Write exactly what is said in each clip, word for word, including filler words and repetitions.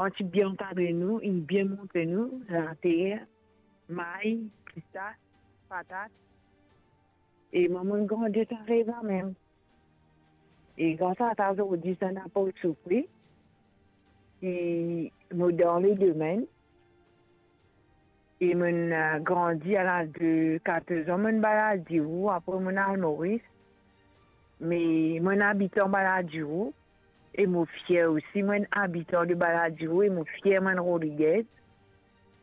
Kan ti bien ankadre nou, inn bien montre nou later, may, pistas, patat. E mwa, mo'nn grandi ek sa rev la mem. E gras a sa, zordi, sa ena pa soufri. E mo dan le domenn. E mo'nn, eh, grandi, a laz de katorz an, mo'nn Baladiro, apre mo'nn al Moris. Me mo'nn abitan Baladiro, e mo fier osi, mo'nn abitan de Baladiro, e mo fier mo'nn Rodriguez.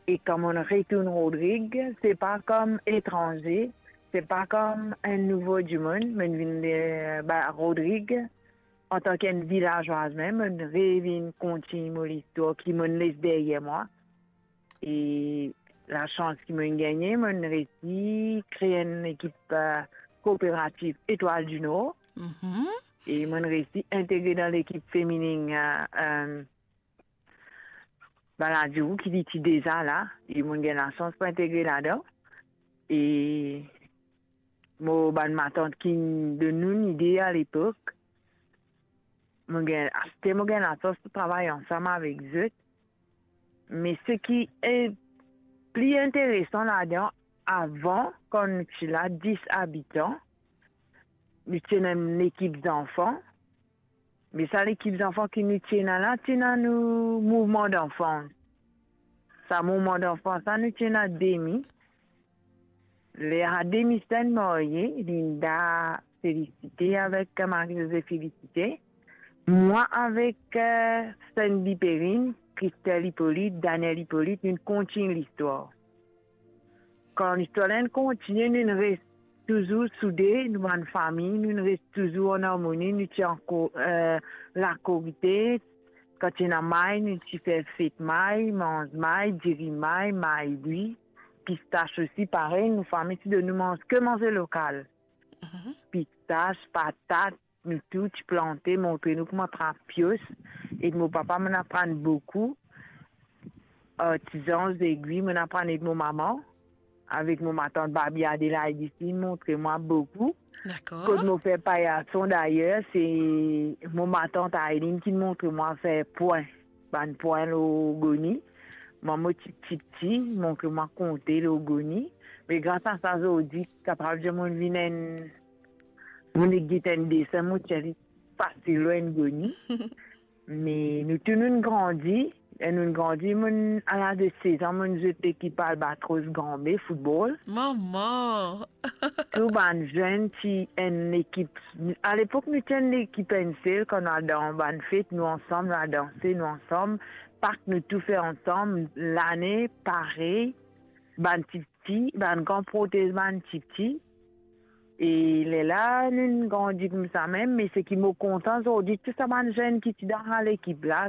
E kan mo'nn retourn Rodrig, se pa kom etranze, se pa kom enn nouvo dimoun, mo'nn vinn, eh, ba, Rodrig, antan ki enn vilazwaz mem, mo'nn revinn kontign mo listwar ki mo'nn les deryer mwa. E lasans ki mo'nn gagne, mo'nn resi kree enn lekip, eh, kooperativ Etoile du Nord. Mhm. E mo'nn resi integre dan lekip feminin, eh, eh, Baladiro ki li ti deza la, e mo'nn gagn lasans pou integre ladan. E mo bann matant ki'nn donn nou lide alepok, mo gagn, aster mo gagn lasans pou travay ansam avek zot. Me seki, eh, pli interesan ladan, avan, kan nou ti la dis abitan, nou ti ena enn lekip zanfan. Me sa lekip zanfan ki nou ti ena la, ti ena nou mouvman danfans. Sa mouvman danfans la, nou ti ena demi. Ler sa demi ti marye, Linda Félicité avek Marie-Josée Félicité. Mwa avek, eh, Sandy Perrine, Christelle Hippolyte, Daniel Hippolyte, nou kontign listwar. Kan listwar la inn kontigne, nou inn res touzour soude, nou bann fami, nou inn res touzour an armoni, nou ti ankor, eh, lakorite, kan ti ena may, nou ti fer fet may, manz may, diri may, may bwi, pistas osi, parey, nou fami ti donn nou manz, ke manze lokal. Mhm. Pistas, patat, nou tou ti plante, montre nou kouma trap pios. Ek mo papa, mo'nn aprann boukou. Artizan, zegwi, mo'nn aprann ek mo mama. Avek mo matant Babi Adelaide isi, montre mwa boukou. Dakor. Kot mo fer payason, dayer, se mo matant Aileen ki montre mwa fer pwin. Bann pwin lor goni. Mwa, mo ti, ti, ti, montre mwa konte lor goni. Me gras a sa, zordi, kapav dir mo'nn vinn enn, mo'nn git enn desen, mo tir li fasil lor enn goni. Me nou tou nou'nn grandi, e nou'nn grandi, mo'nn, a laz de sez an, mo'nn zwe lekip Albatros Granbe, foutbol. Mama! Tou bann zenn ti enn lekip. Alepok, nou ti enn lekip enn sel, kan nou al dan bann fet, nou ansam, nou al danse, nou ansam. Pak, nou tou fer ansam. Lane, parey. Bann tipti, bann gran protez bann tipti. E lerla, nou grandi koumsa mem, me seki mo kontan zordi, tou sa bann zenn ki ti dan sa lekip la,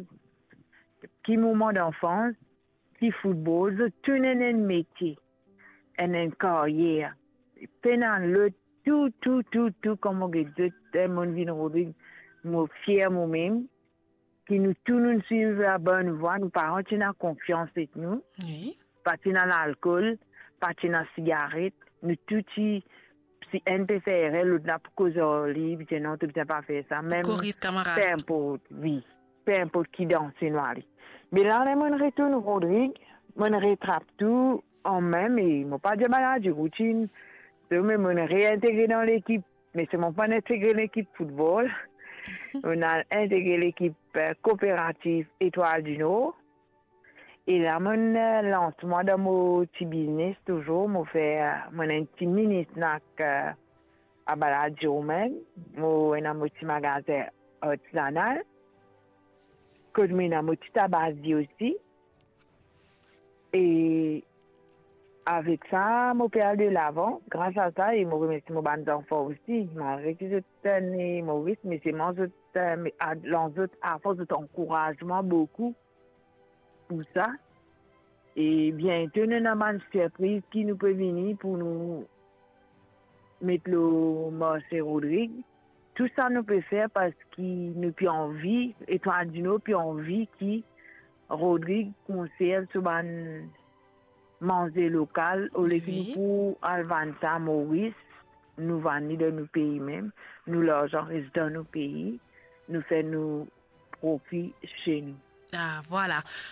ki mouvman danfans, ki foutbol, zot tou ena enn metie, ena enn karyer. Pena lot, tou, tou, tou, tou, kan mo get zot, eh, mo'nn vinn Rodrig, mo fier momem, ki nou tou nou'nn swiv labonn vwa, nou paran ti ena konfians ek nou. Wi. Pa ti ena lalkol, pa ti ena sigaret, nou tou ti, si enn pe fer erer, lot la pou koz ar li, pou dir non, to bizin pa fer sa. Mem, koris kamarad. Pe inport, wi, pe inport ki danse nou ale. Me la, ler mo'nn retourn Rodrig, mo'nn retrap tou an mem, e mo pa dir bann la dir routinn, so, me mo'nn reintegre dan lekip, me se mo pa'nn integre lekip foutbol. Mo'nn al integre lekip, eh, kooperativ Etoile du Nord. E la, mo'nn, eh, lans mwa dan mo ti biznes touzour. Mo fer, mo ena enn ti mini snack, eh, a Baladiro mem. Mo ena mo ti magazin artizanal. Kot mo ena mo ti tabazi osi. E avek sa, mo pe al de lavan, gras a sa, e mo remersie mo bann zanfan osi, malgre ki zot ena Moris, me selman zot, eh, me, a, lans zot, afors zot ankouraz mwa boukou pou sa. E biento, nou ena bann sirpriz ki nou pe vini pou nou met lor marse Rodrig. Tou sa nou pe fer parski nou pe anvi, Etoile du Nord pe anvi ki Rodrig konserv so bann manze lokal, olie ki nou pou al vann sa Moris, nou vann li dan nou pei mem, nou larzan res dan nou pei, nou fer nou profi se nou. Ah, vwala.